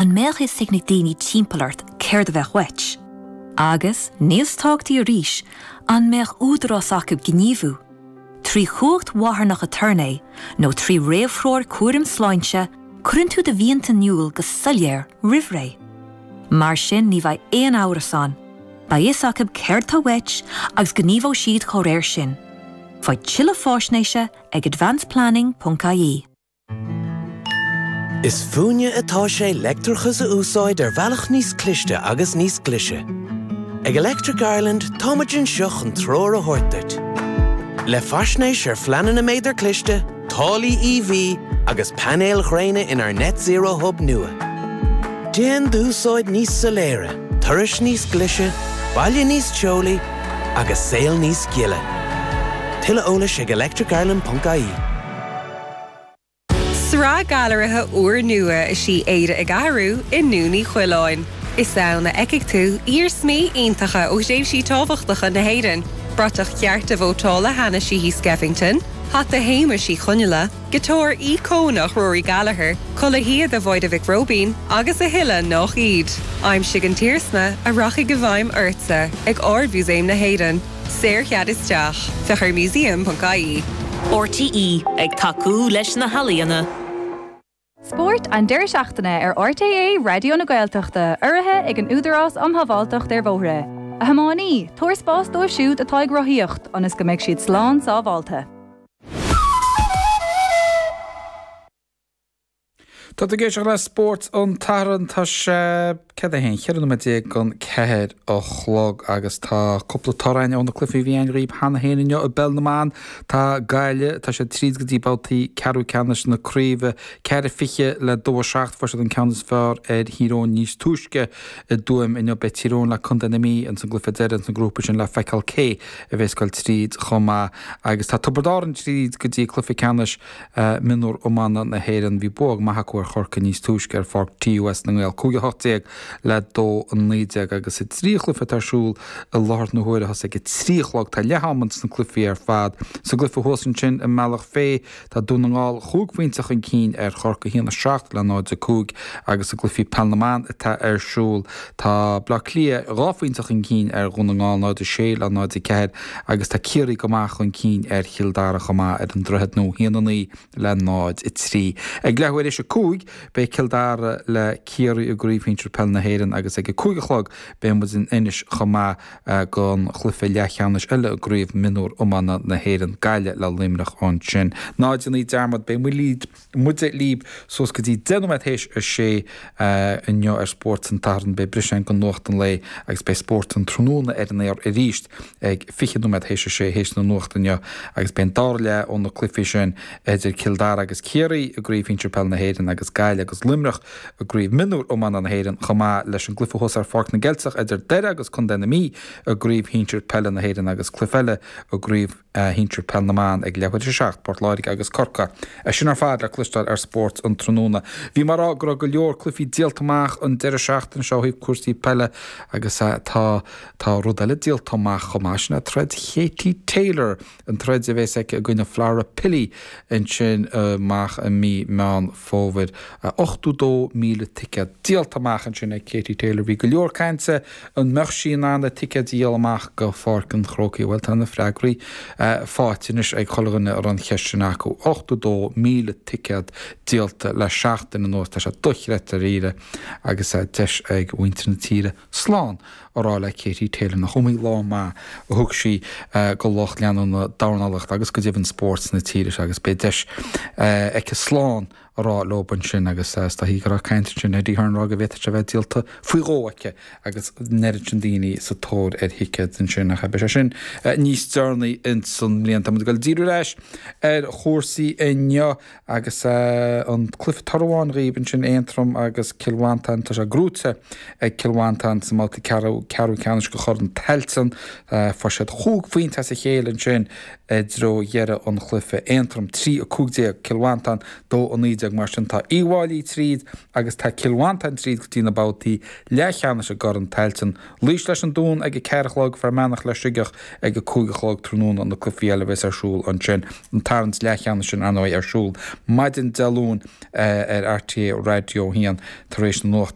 An mbeadh fhios ag na daoine timpeall ort céard a bheadh uait? Agus, níos tábhachtaí arís, an mbeadh údarás acu gníomhú? Trí chumhacht mharthanach aturnae nó trí réamhthreoir cúraim sláinte, cuireann tú do mhianta in iúl go soiléir roimh ré. Mar sin ní bheidh aon amhras ann, beidh fhios acu céard tá uait agus gníomhóidh siad dá réir sin. Faigh tuilleadh faisnéise ag advanceplanning.ie. Is fúinne atá sé leictreachas a úsáid ar bhealach níos cliste agus níos glaise. Ag Electric Ireland táimid anseo chun treoir a thabhairt duit. Le faisnéis ar phleananna méadar cliste, táillí EV agus painéil ghréine inár Net Zero Hub nua. Déan d'úsáid níos soiléire, turais níos glaise, baile níos teolaí agus saol níos gile. Tuilleadh eolais ag electricireland.ie. Sraith gailearaithe úrnua is í Éire ag Athrú i nDún Uí Choileáin. Is ann a fheicfidh tú iarsmaí iontacha ó thréimhsí tábhachtacha na hÉireann, bratach chearta vótála Hanna Sheehy Skeffington, hata Shéamuis Uí Chonghaile, giotár íocónach Rory Gallagher, culaith shíoda Mháire Mhic Róibín agus a thuilleadh nach iad. Aimsigh an t-iarsma a rachaidh i bhfeidhm ortsa ag Ard-Mhúsaem na hÉireann. Saorchead isteach. Féach ar museum.ie. RTÉ, ag tacú leis na healaíona. Spórt an deireadh seachtaine ar RTÉ Raidió na Gaeltachta, urraithe ag an Údarás um Shábháilteacht ar Bhóithre. A thiománaí, tabhair spás dóibh siúd atá ag rothaíocht, ionas go mbeidh siad slán sábháilte. Tá tú ag éisteacht le Spórt an tSathairn. Tá sé céard é féin, 14 nóiméad don 4 a chlog agus tá cúpla toradh againn ó na cluichí a bhí againn dhaoib cheana féin inniu i bPeil na mBan. Tá Gaillimh, tá siad tríd go dtí babhtaí ceathrú ceannais na craoibhe, 4-20 le 2-7. Fuair siad an ceann is fearr ar Thír Eoghain níos túisce i dTuaim inniu. Beidh Tír Eoghain le Contae na Mí ins an gcluiche deiridh ins an ngrúpa sin le feiceáil cé a bheas ag goil tríd chomh maith agus tá Tiobraid Árann tríd go dtí cluiche ceannais Mionúr Iomána na hÉireann. Bhí bua maith acu ar Chorcaigh níos túisce ar pháirc TUS na nGael, 5-18 le 2-19 agus i dtrí chluiche atá ar siúl i láthair na huaire, thosaigh ag a trí a chlog, tá leath am ins na cluichí ar fad. Sa gcluiche thuas ansin i mBealach Féich, tá Dún na nGall chúig phointe chun cinn ar Chorcaigh, 1-7 le 0-5 agus i gcluichí Peil na mBan atá ar siúl, tá Bleá Cliath dhá phointe chun cinn ar Dhún na nGall, 0-6 le 0-4 agus tá Ciarraí go maith chun cinn ar Chill Dara chomh maith ar an Droichead Nua, 1-9 le 0-3. Ag leathuair théis 5, beidh Cill Dara le Ciarraí i gCraobh Shinsir Peile na hÉireann agus ag a 5 a chlog beidh muid in Inis chomh maith don chluiche leathcheannais eile i gCraobh Mionúr Iomána na hÉireann, Gaillimh le Luimneach ansin. Ná déanaí dearmad, beidh muid muide libh suas go dtí 10 nóiméad théis a sé inniu ar Spórt an tSathairn. Beidh briseadh ann don nuacht an lae agus beidh Spórt an Tráthnóna ar an aer arís ag 20 nóiméad théis a sé théis na nuachta inniu agus beidh an dara leath ó na cluichí sin idir Cill Dara agus Ciarraí i gCraobh Shinsir Peile na hÉireann agus Gaillimh agus Luimneach i gCraobh Mionúr Iomána na hÉireann chomh maith leis an gcluiche thuas ar Pháirc na gCeilteach idir Doire agus Contae na Mí i gCraobh Shinsir Peile na hÉireann agus cluiche eile i gCraobh Shinsir Peil na mBan ag leathuair théis a 7, Port Láirge agus Corcaigh. É sin ar fad le cloisteáil ar Spórt an Tráthnóna. Bhí mé ag rá go raibh go leor cluichí díolta amach an deireadh seachtaine seo ó thaobh cúrsaí peile agus tá tá rud eile díolta amach chomh maith, sin é troid Katie Taylor, an troid a bheas aici i gcoinne Flora Pili ansin amach i mí Meán Fómhair. 82,000 ticéad díolta amach ansin ag Katie Taylor. Bhí go leor cainte an mbeadh sí in ann na ticéid a dhíol amach go Pháirc an Chrócaigh. Bhuel, tá na freagraí faighte anois ag chuile dhuine a raibh an cheist sin acu. 82,000 ticéad díolta le seachtain anuas. Tá sé dochreidte dáiríre agus deis ag mhuintir na tíre slán a rá le Katie Taylor nach iomaí lá maith a thug sí go lucht leanúna dornálaíochta agus go deimhin spórt na tíre seo agus beidh deis aici slán a rá leo ansin agus is dóichí go raibh caint ansin Eddie Hearn ag rá go bhféadfadh sé a bheith díolta faoi dhó aici agus an oiread sin daoine sa tóir ar thicéid ansin ach beidh sé sin níos deireanaí ins an mbliain. Tá muid ag dul díriú ar ais ar chúrsaí inniu Agus an cluiche toradh amháin dhaoib ansin, Aontroim agus Cill Mhantáin, tá sé gnóite ag Cill Mhantáin sa mbabhta ceathrú ceannais de Chorn Tailteann. Fuair siad chúig phointe as a chéile ansin i dtreo dheireadh an chluiche. Aontroim 3, 15, Cill Mhantáin 2, 19. 2019, mar sin tá Uíbh Fhailí tríd agus tá Cill Mhantáin tríd go dtí na babhtaí leathcheannais i gCorn Tailteann. Laois leis an Dún ag a 4 a chlog, Fear Manach le Sligeach ag a 5 a chlog tráthnóna, na cluichí eile a bheas ar siúl ansin. An tarraingt leathcheannais sin, ar ndóigh, ar siúl maidin Dé Luain ar RTÉ Raidió 1 tar éis na nuachta.